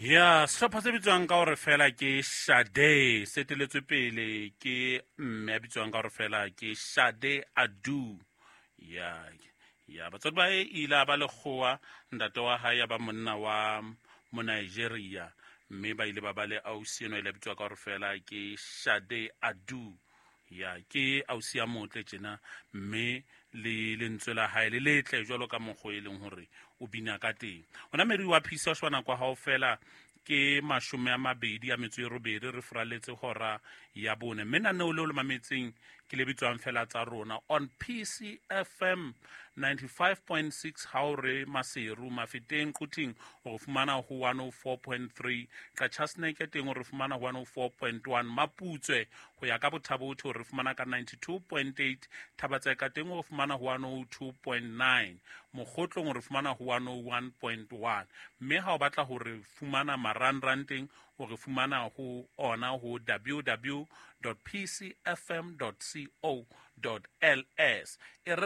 Ya sehlopha se bitswang ka hore fela ke Shade, se eteletswe pele ke mme a bitswang ka hore fela ke Shade Adu. Ya batswadi ba e ile a ba lekgowa, ntate wa hae ya ba monna wa Monigeria, mme ba ile ba ba le ausi eno ile a bitswa ka hore fela ke Shade Adu. Ya ke ausi ya motle tjena, mme le lentswe la hae le letle jwalo ka mokgwa e leng hore o bina ka teng. Ona meri wa phisa wa sheba nako ya hao fela ke 28 re furaletse hora ya 4, mme naneo leo le mametseng ke le bitswang fela tsa rona on PCFM 95.6. Ha o re Maseru, Mafeteng, Quthing o re fumana ho 104.3, Qachaseneke teng o re fumana ho 104.1, Maputswe ho ya ka Bothabotho o re fumana ka 92.8, Thabatseka teng o re fumana ho 102.9, Mokgotlong o re fumana ho 101.1, mme ha o batla ho re fumana marangrang teng o re fumana ho ona ho www.pcfm.co.ls. E re